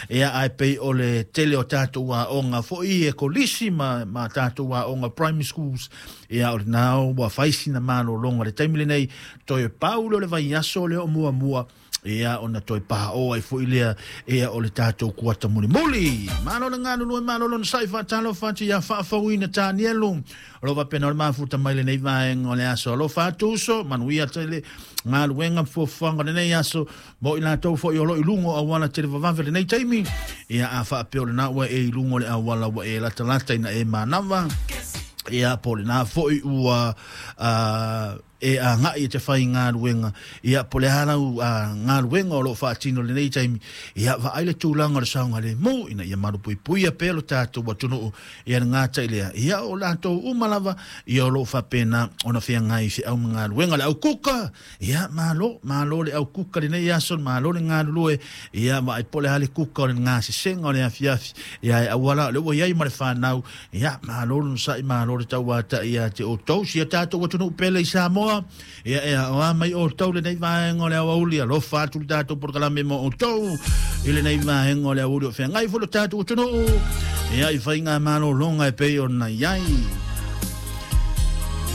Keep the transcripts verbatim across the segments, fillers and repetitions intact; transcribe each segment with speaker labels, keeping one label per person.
Speaker 1: Ia ai pei o le tele o tatou aoga foi e kolisi ma, ma tatou aoga primary schools. Ia o lena ua fai sina malologa le taimi lenei, toe pau lea o le vaiaso lea o muamua, ia ona toe pao'o ai fo'i lea ia o le tatou kuata mulimuli. Malo le galulue, malo lona sa'i faatalofa atu ia faafouina Tanielu o lo faapena o le mafuta mai lenei vaega o le aso. Alofa atu uso, manuia tele galuega ma fuafuaga o lenei aso mo i latou fo'i o lo i luga o auala televavave lenei taimi. Ia a faapea o lena ua e i luga o le auala ua e latalata ina e manava, ia po o lena fo'i ua uh, e agai e te fai galuega, ia po o le a lau galuega o loo faatino lenei taimi, ia vaai le tulaga o le saogalemu ina ia malupuipuia pea lo tatou atunuu. Ia le gata i lea, ia o latou uma lava ia o loo faapena ona feagai feau ma galuega le aukuka. Ia malo, malo le aukuka lenei aso, malo le galulue. Ia vaai po o le a le kuka o le gasesega o le afiafi, ia e auala o le ua iai ma le fanau. Ia malo le onosa'i, malo le tauata'i ia te outou si a tatou atunuu pele i Samoa. Ia e aoa mai outou lenei vaega o le aoauli, alofa atu le tatou polokalame mo outou i lenei vaega o le aoauli o feagai foi lo tatou atunuu ia i faiga malologa e pei ona i ai.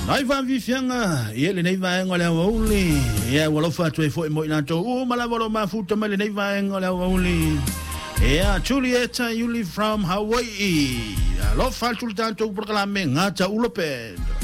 Speaker 1: Nai faafiafiaga ia lenei vaega o le aoauli, ia ua alofa atu ai foi mo i latou uma lava o lo mafuta mai lenei vaega o le aoauli. Ia Julieta Iuli from Hawaii, alofa atu le tatou polokalame Gata Ula Band.